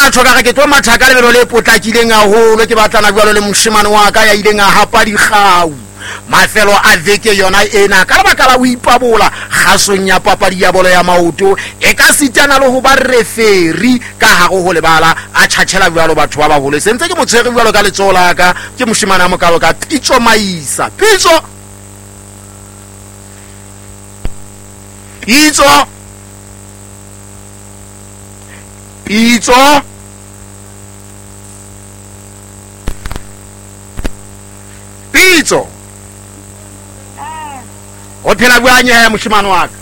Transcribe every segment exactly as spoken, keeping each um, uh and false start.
ka tjho ka re ke tlo matha ka lebelo le potlakileng haholo ke batlana jwalo le moshemane wa ka ya ileng a hapa dikgau mafelo a veke yona ena ka lebaka la ho ipabola kgasong ya papadi ya bolo ya maoto e ka sitana le ho ba referi ka hare ho lebala a tjhatjhela jwalo batho ba baholo se ntse ke mo tshwere jwalo ka letsoho la ka ke moshemane a mokalo ka Pitso Maisa. Pitso Pitso Pitso Pitso o phela bjang he moshemane wa ka?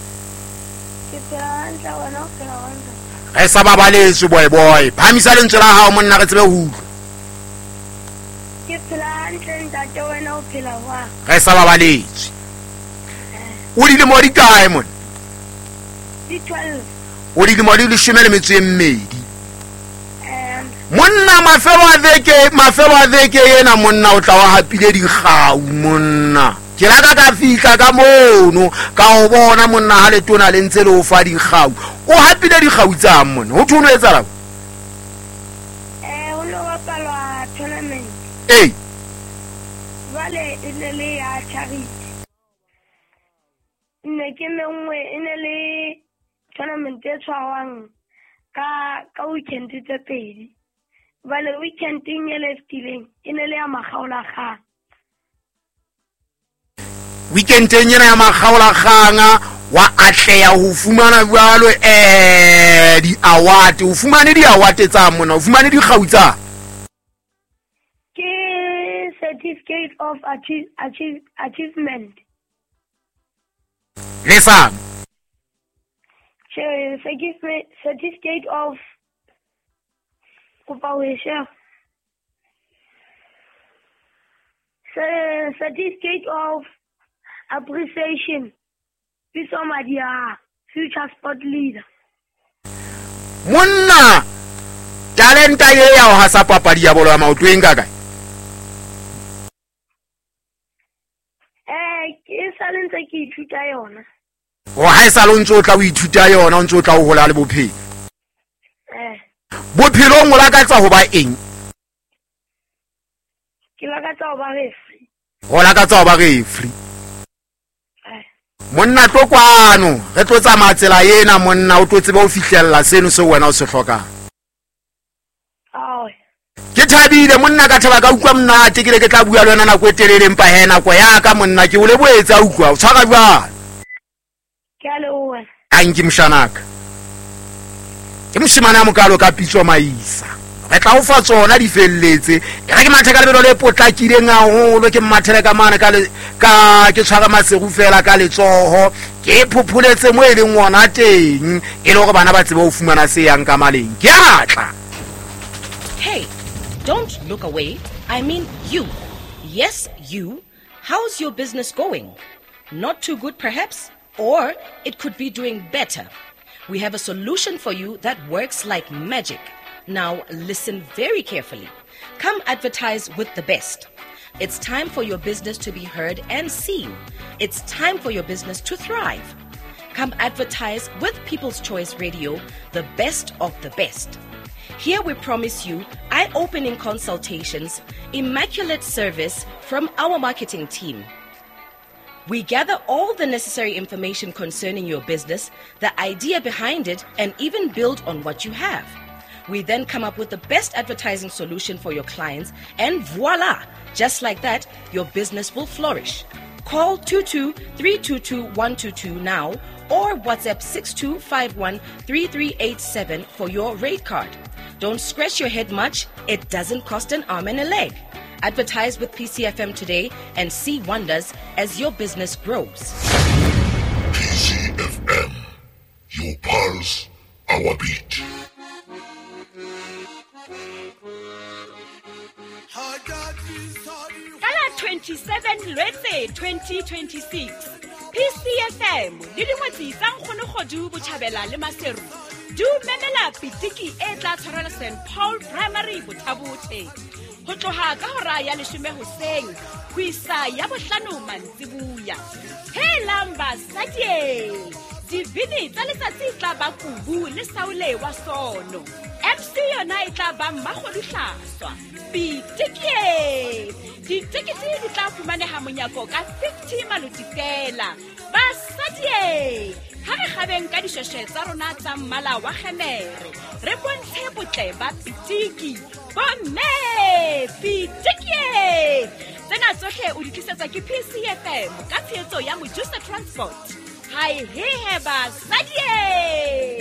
Ke phela hantle, wena o phela hantle. Re sa babaletswe boy boy. Phamisa lentswe la hao monna re tsebe ho utlwa. Ke phela hantle ntate, wena o phela jwang? Re sa babaletswe. O dilemo di kae monna? Di twelve. O dilemo di leshome le metso e mmedi. Monna mafelo a veke, mafelo a veke ena monna o tla wa hapile dikgau monna. Ke la ka ka fihla ka mono ka o bona monna ha letona le ntse le o fa dikgau. O hapile dikgau tsa monna. Ho thono etsahala? Eh o lo bapalwa tournament. Eh. Jwale e ne le ya charity. Ne ke mengwe e ne le tournament e tshwarwang ka ka weekend tse pedi. Jwale weekending e le fetileng e ne le ya makgaolakgang. Weekendeng ena ya makgaolakgang wa atleha ho fumana jwalo eh di-award. O fumane di-award tsa mona, o fumane dikgau tsa? Ke certificate of achieve, achieve, achievement. Le sa? Che, certificate of kopa ho e share. Certificate of appreciation. Pitso Madia, future sport leader. Monna, talenta ye ya ho hasa papadi ya bolo ya maoto e nka kae? Eh, ke sa le ntse ke ithuta yona. O ha e sa le ntse o tla o ithuta yona, o ntse o tla o hola le bophelo. Eh. Bophelong o lakatsa ho ba eng? Ke lakatsa ho ba referee. O lakatsa ho ba referee. Monna tlo kwano, re tlo tsamaya tsela ena monna o tlo tsebe ho fihlella seno seo wena o se hlokang. Ke thabile monna ka thaba ka utlwa monate ke le ke tla bua le wena nako e telele empa he nako ya ka monna ke o lebohetse a utlwa o tshwara jwang? Ke a leboha. Tanki moshanaka. Ke moshemane a mokalo ka Pitso Maisa. Re tla o fa tsona di felletse. E re ke mathe ka lebelo le potlakileng haholo ke mmathele ka mane ka ka ke tshwara maseru fela ka letsoho ke phopholetse mo e leng ona teng e le hore bana ba tsebe ho fumana se yang ka maleng. Ke a tla. Hey, don't look away. I mean you. Yes, you. How's your business going? Not too good perhaps, or it could be doing better. We have a solution for you that works like magic. Now listen very carefully. Come advertise with the best. It's time for your business to be heard and seen. It's time for your business to thrive. Come advertise with People's Choice Radio, the best of the best. Here we promise you eye-opening consultations, immaculate service from our marketing team. We gather all the necessary information concerning your business, the idea behind it, and even build on what you have. We then come up with the best advertising solution for your clients, and voila! Just like that, your business will flourish. Call two two three two two one two two now or WhatsApp six two five one three three eight seven for your rate card. Don't scratch your head much. It doesn't cost an arm and a leg. Advertise with P C F M today and see wonders as your business grows. P C F M, your pulse, our beat. Kala twenty-seven Lwetse twenty twenty-six P C F M le dingwetsi tsa Nkgono Kgodu Botjhabela le Maseru di memela pitiki e tla tshwarelwa Saint Paul Primary Bothabothe ho tloha ka hora ya leshome hoseng ho isa ya bohlano mantsibuya. Helang basadi, Dibini tsa letsatsi e tla ba Kubu le Saule wa Sono. M C yona e tla ba Mmakgodu Hlaswa. Pitikie! Ditekete di tla fumaneha monyako ka fifty maloti fela. Basadie! Ha re kgabeng ka dishweshwe tsa rona tsa mmala wa kgemere, re bontshe botle ba pitiki. Bomme! Pitikie! Tsena tsohle o di tlisetswa ke P C F M ka tshehetso ya Mojusa Transport. Hai he he basadie!